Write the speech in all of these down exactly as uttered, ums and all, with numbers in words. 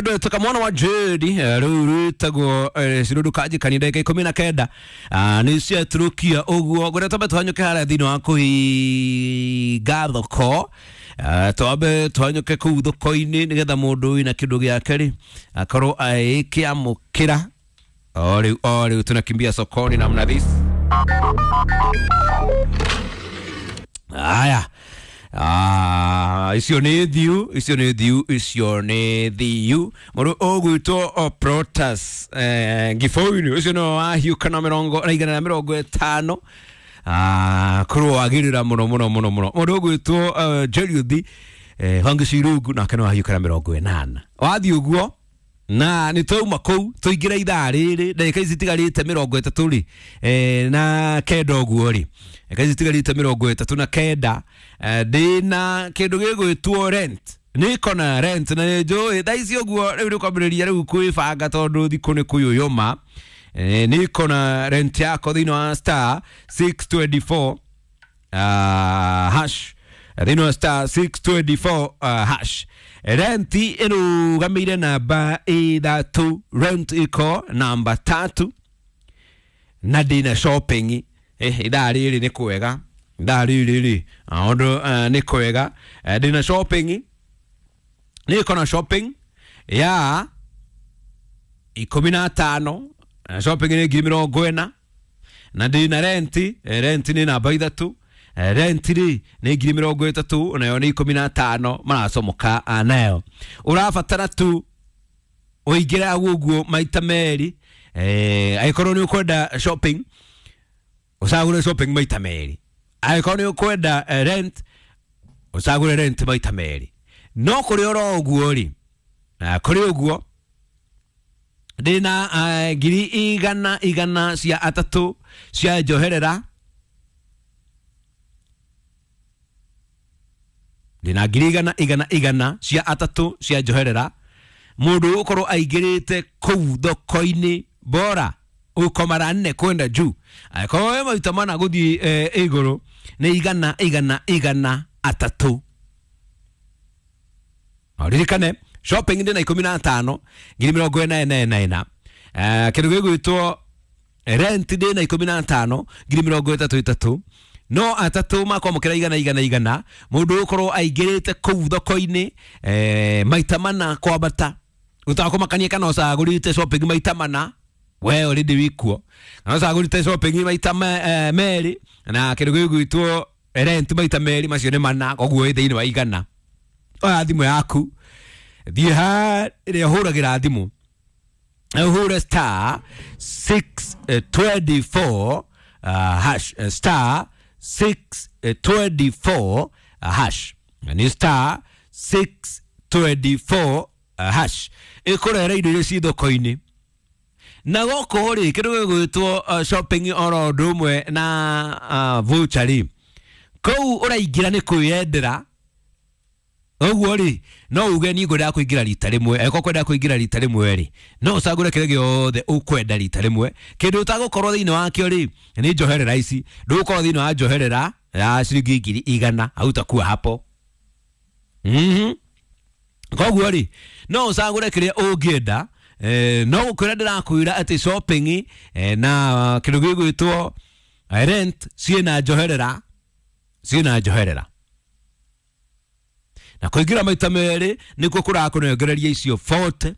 Rwendo tukamwona wa Jedi rĩu rwĩtagwo cirũndũkanjikani ndagĩka ikũmi na kenda nĩ ciatũrũkia ũguo. Ngwenda twambe tũhanyũke harĩa thĩinĩ wa kũhinga thoko, twambe tũhanyũke kũu thoko-inĩ nĩgetha mũndũ wĩna kĩndũ gĩake rĩ akorwo agĩkĩamũkĩra. O rĩu o rĩu tunakimbia sokoni namna this. Haya. Ah, icio nĩ thiu, icio nĩ thiu, icio nĩ thiu. Mũndũ ũgwĩtwo Protas eh, Giboini ũcio nĩwe wahiũka na mĩrongo na igana rĩa mĩrongo ĩtano. Ah, kũrũagĩrĩra mũno mũno mũno mũno. Mũndũ ũgwĩtwo uh, Jeriuthi eh, Wangi Cirungu nake nĩwe wahiũka na mĩrongo ĩnana. Wathiĩ ũguo na nĩ twauma kũu tũingĩra ithaa rĩrĩ ndagĩka ici itigarĩte mĩrongo ĩtatũ rĩ eh, na kenda ũguo rĩ, ndagĩka ici itigarĩte mĩrongo ĩtatũ na kenda eh, ndĩna kĩndũ gĩgwĩtwo rent, nĩ kona rent na nĩ njũĩ thaa ici ũguo rĩu nĩ kwambĩrĩria rĩu kwĩbanga tondũ thikũ nĩ kũyũyũma. eh, nĩ kona rent yako thĩinĩ wa star six twenty four uh, hash, thĩinĩ wa star six twenty four uh, hash. Rent ĩrũgamĩire namba ithatũ, rent iko namba tatu na ndĩna shopping. Eh, ithaa rĩrĩ nĩ kwega, ithaa rĩrĩ rĩ ũndũ uh, nĩ kwega. Eh, ndĩna shopping, nĩ kona shopping ya ikũmi na tano, shopping nĩ ngiri mĩrongo ĩna na ndĩna rent, rent nĩ namba ithatũ, rent rĩ nĩ ngiri mĩrongo ĩtatũ nayo nĩ ikũmi na tano maracomoka nayo. Ũrabatara tu ũingĩre ũguo maita merĩ, eh, angĩkorwo nĩ ũkwenda shopping ũcagũre shopping maita merĩ, angĩkorwo nĩ ũkwenda rent ũcagũre rent maita merĩ. No kũrĩ oro ũguo rĩ, kũrĩ ũguo ndĩna uh, ngiri igana igana cia atatũ cia njoherera, ndĩna ngiri igana igana igana cia atatũ cia njoherera. Mũndũ ũkorwo aingĩrĩte kũu thoko-inĩ bora uko mara nne kwenda juu, angĩkorwo wĩ maita mana gũthiĩ eh, igũrũ nĩ igana igana igana atatũ. Ririkane shopping ndĩna ikũmi na tano ngiri mĩrongo ĩna ĩna ĩna ĩna. Eh, kĩndũ gĩgwĩtwo rent ndĩna ikũmi na tano ngiri mĩrongo ĩtatũ ĩtatũ, no atatũ makwamũkĩra igana igana igana. Mũndũ ũkorwo aingĩrĩte kũu thoko-inĩ eh, maita mana kwambata, ũtakũmakania kana ũcagũrĩte shopping maita mana we already wikuo, kana ũcagũrĩte shopping maita me, eh, merĩ na kĩndũ gĩgwĩtwo rent maita merĩ, macio nĩ mana, koguo wĩ thĩinĩ wa igana. Oya thimũ yaku thiĩ harĩa ũhũragĩra thimũ, ũhũre star six twenty four hash, star six twenty four hash, nĩ star six twenty four hash ĩkũrehere indo iria ci thoko-inĩ. Na gũkũ rĩ kĩndũ gĩgwĩtwo shopping oro ũndũ ũmwe na uh, voucher rĩ, kũu ũraingĩra nĩ kwĩyendera ũguo rĩ, no uge niĩ ngwendaga kũingĩra rita rĩmwe. Angĩkorwo kwenda kũingĩra rita rĩmwe rĩ, no ũcagũre kĩrĩa gĩothe ũkwenda rita rĩmwe. Kĩndũ ũtagũkorwo thĩinĩ wakĩo rĩ nĩ njoherera ici, ndũgũkorwo thĩinĩ wa njoherera ya ciringi ngiri igana, hautakuwa hapo. Mhm. Koguo rĩ no ũcagũre kĩrĩa ũngĩenda. Eh, no gũkwĩra ndĩrakwĩra atĩ shopping eh, na kĩndũ gĩgwĩtwo rent ciĩna njoherera, ciĩna njoherera na kũingĩra maita merĩ nĩkuo kũrakũnengereria icio forty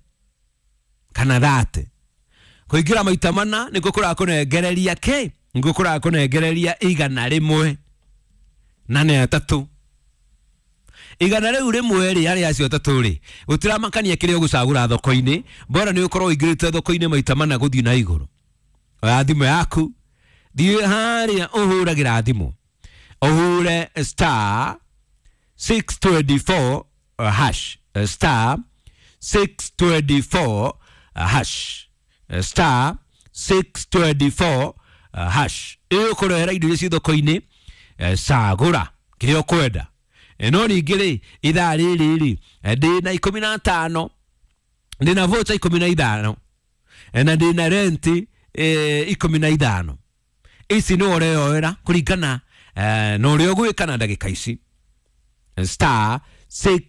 kana thirty. Kũingĩra maita mana nĩkuo kũrakũnengereria kĩ, nĩkuo kũrakũnengereria igana rĩmwe na nĩ atatũ. Igana rĩu rĩmwe rĩ harĩ acio atatũ rĩ gũtiramakania kĩrĩa ũgũcagũra thoko-inĩ, bora nĩ ũkorwo ũingĩrĩte thoko-inĩ maita mana gũthiĩ na igũrũ. Oya thimũ yaku thiĩ harĩa ũhũragĩra thimũ, ũhũre star six twenty four hash, star six twenty four hash, star six twenty four hash ĩgũkũrehera indo iria ci thoko-inĩ. Cagũra kĩrĩa ũkwenda. No ningĩ rĩ ithaa rĩrĩ rĩ ndĩna ikũmi na tano, ndĩna voucher ikũmi na ithano na ndĩna rent ikũmi na ithano. Ici nĩ ũreyoera kũringana na ũrĩa ũgwĩka na ndagĩka ici. Star six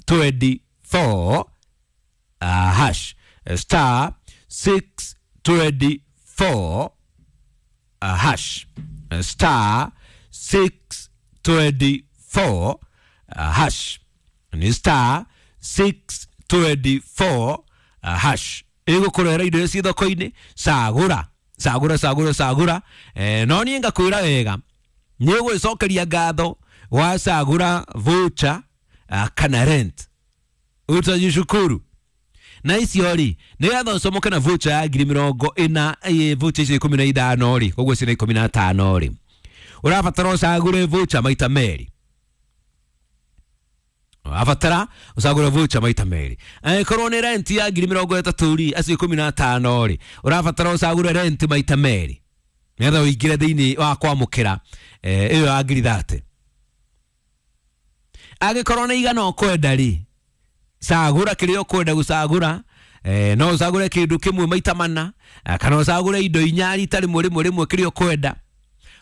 twenty four uh, Star six twenty four hash, star six twenty four hash, ni star six twenty four hash. Ĩgũkũrehera indo iria ciĩ thoko-inĩ. Cagũra, cagũra, cagũra, cagũra. eh, no niĩ ngakwĩra wega, nĩ ũgwĩcokeria ngatho wacagũra voucher kana rent, utajishukuru. Na icio rĩ, nĩgetha ũcomoke na voucher ya ngiri mĩrongo ĩna, voucher icio ikũmi na ithano rĩ, koguo ciĩna ikũmi na tano rĩ, ũrabatara ũcagũre voucher maita merĩ. Ũrabatara ũcagũre voucher maita merĩ. Angĩkorwo nĩ rent ya ngiri mĩrongo ĩtatũ rĩ, acio ikũmi na tano rĩ, ũrabatara ũcagũre rent maita merĩ nĩgetha ũingĩre thĩinĩ wa kwamũkĩra ĩyo ya ngiri thate. Angĩkorwo nĩ igana ũkwenda rĩ, cagũra kĩrĩa ũkwenda gũcagũra. eh, no ũcagũre kĩndũ kĩmwe maita mana, kana ũcagũre indo inya rita rĩmwe rĩmwe rĩmwe, kĩrĩa ũkwenda,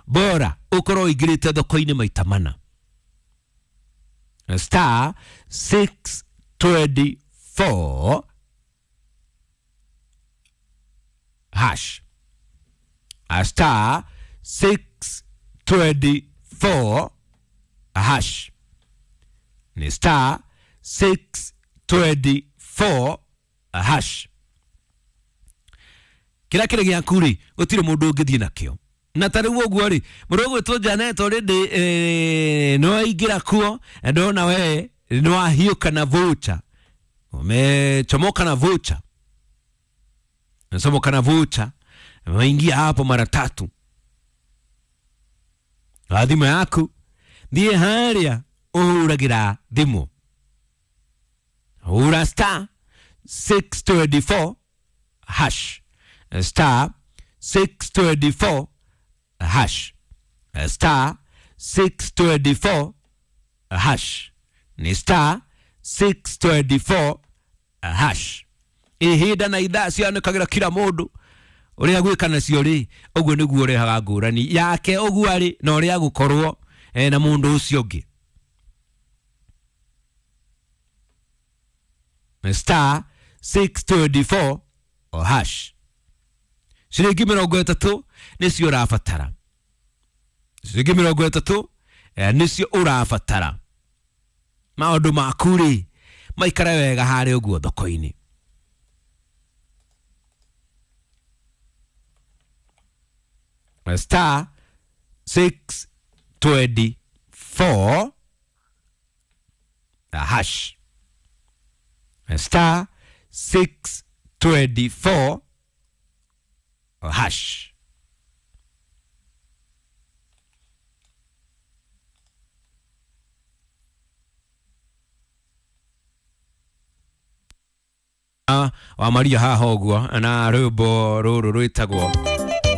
bora ũkorwo ũingĩrĩte thoko-inĩ maita mana. Star six twenty four hash, star six twenty four hash, ni star six twenty four hash. Kĩrĩa kĩrĩ gĩaku rĩ, gũtirĩ mũndũ ũngĩthiĩ nakĩo. Na ta rĩu ũguo rĩ, mũndũ ũgwĩtwo Janet already eh, nĩ waingĩra kuo, na ndona we nĩ wahiũka na voucher, umechomoka na voucher, umechomoka na voucher, umeingia hapo mara tatu. Na thimũ yaku thiĩ harĩa ũhũragĩra thimũ, hũra star six twenty four hash, star six twenty four hash, star six twenty four hash, ni star six twenty four hash. Ihinda na ithaa cianĩkagĩra kila mũndũ ũrĩa gwĩka nacio rĩ, ũguo nĩguo ũrehaga ngũrani yake ũguo arĩ na ũrĩa gũkorwo na mũndũ ũcio ũngĩ. Star six twenty four hash. Ciringi mĩrongo ĩtatũ nĩcio ũrabatara, ciringi mĩrongo ĩtatũ nĩcio ũrabatara. Maũndũ maku rĩ maikare wega harĩa ũguo thoko-inĩ. Star six twenty four hash, star six twenty four hash. Wa Maria haha ũguo na rwĩmbo rũrũ rwĩtagwo